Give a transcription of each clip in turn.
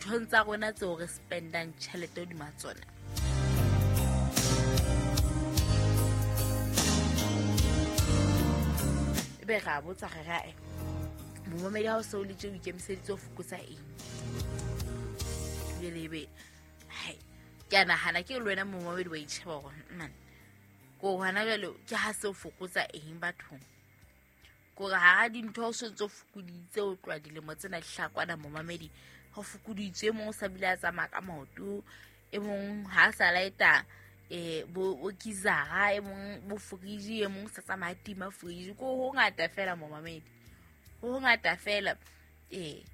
Dinthong tsa rona tseo re spendang tjhelete hodima tsona. Ebe re a botsa re re momamedi ha o se o le tje o ikemiseditse ho fokotsa eng? Jwale ebe hai, ke a nahana ke le wena momamedi wa itjheba hore man, ko hona jwale ke ha se o fokotsa eng bathong? Kore hara dintho o sontso fokoditse o tloha dilemo tsena di hlakwana momamedi, ho fokoditswe e mong o sa bile a tsamaya ka maoto, e mong ha a sa laeta bo geyser-a, e mong bo fridge, e mong sa tsamaya tima fridge. Ko ho ngata fela momamedi, ho ngata fela. E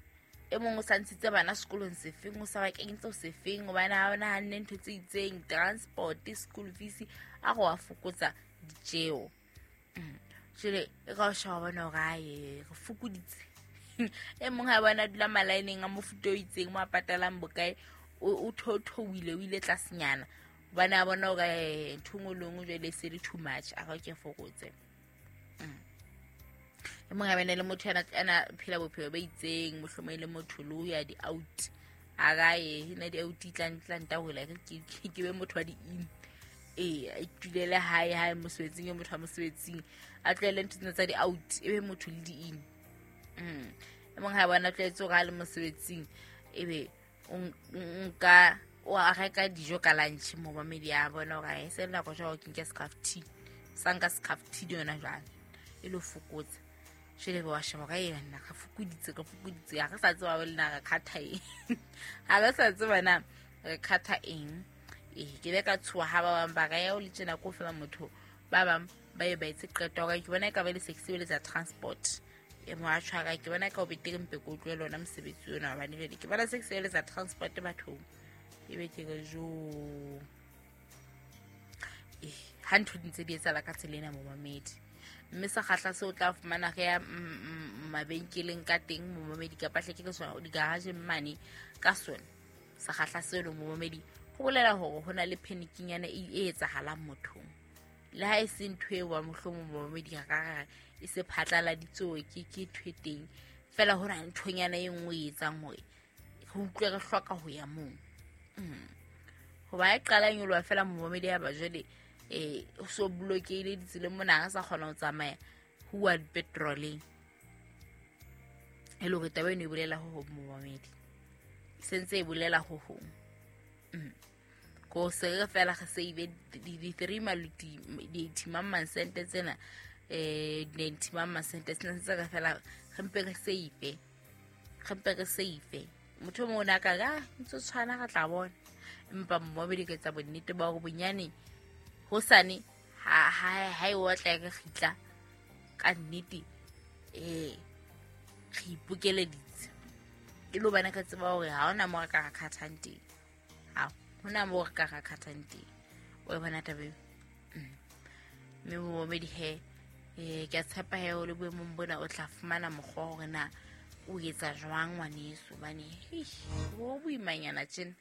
mong o sa ntshitse bana sekolong sefeng, o sa ba kenyetse ho sefeng, hobane ha ona hanne ntho tse itseng, transport, school fees, a go a fokotsa ditjeo. Jwale e ka o sheba bona hore ae, re fokoditse. E mong ha bona dula malaeneng a mofuta o itseng mo a patalang bokae, o theotheohile, o ile tlasenyana, hobane a bona hore ntho e nngwe le nngwe jwale e se le too much, a re ke fokotse. E mong ha bane le motho ana phela bophelo bo itseng, mohlomong e le motho le ho ya di-out, a ka ye na di-out tlang tahola, ke be motho wa di-in. A itulele hae, hae mosebetsing, e motho wa mosebetsing, a tlohele ntho tsena tsa di-out, e be motho le di-in. E mong ha bona tlwaetse hore ha le mosebetsing, ebe o nka o a reka dijo ka lunch, momamedi a bona hore e se le nako jwale ke nke scarf tea, sa nka scarf tea le yona jwale e lo fokotsa. Jwale be wa sheba ka yena, re fokoditse, re fokoditse, ha re sa tseba le na re kgatha eng. Ha re sa tseba na re kgatha eng. Ke ile ka tshoha ha ba bang ba re ya o le tjena ko fela motho, ba bang ba ye ba etse qeto hore ke bona e ka ba le se ke sebeletsa transport. E mo a tshwara, ke bona ka o betere mpe ko tlohele ona mosebetsi ona, hobane jwale ke bona se ke sebeletsa transport bathong. Ebe ke re jo. Ha ntho di ntse di etsahala ka tsela ena momamedi. Mme sekgahla seo o tla fumana re ya mabenkeleng ka teng momamedi, kapa hle ke re sona di-garage-eng mane ka sona. Sekgahla seo le momamedi ho bolela hore ho na le panic-nyana e etsahalang mothong. Le ha e se ntho eo wa mohlomong momamedi a ka re e se phatlaladitsoe ke ntho e teng. Feela ho na le nthonyana e nngwe e etsang hore re utlwe re hloka ho ya moo. Hoba e qala nyoloha fela momamedi ya ba jwale, o so blokehile ditseleng mona, ha sa kgona ho tsamaya ho uwa petroleng. E le hore taba eno e bolela ho hong momamedi, e sentse e bolela ho hong. Ko se re fela re save di three maluti, di eighty mang mang sente tsena, ninety mang mang sente tsena, ntse re fela re mpe re save, re mpe re save. Motho o mong o ne a ka re, ah, ntse o tshwana re tla bona. Empa momamedi ka etsa bonnete ba hore bonyane hosane ha e otla e re kgitla ka nnete, re ipokeleditse. E le hobane re tseba hore ha hona moo re ka ra khathang teng. Ha hona moo re ka ra khathang teng. O e bona taba eo? Mme momamedi he, ke a tshepa he o le boemong bona o tla fumana mokgwa hore na o etsa jwang ngwaneso, hobane, ho boimanyana tjena.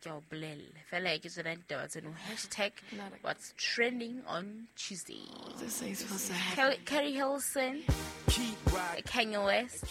Ke a o bolella. Fela ke tsona ditaba tseno. Hashtag what's trending on Tuesday. This ain't supposed to happen. Keri Hilson, Kanye West,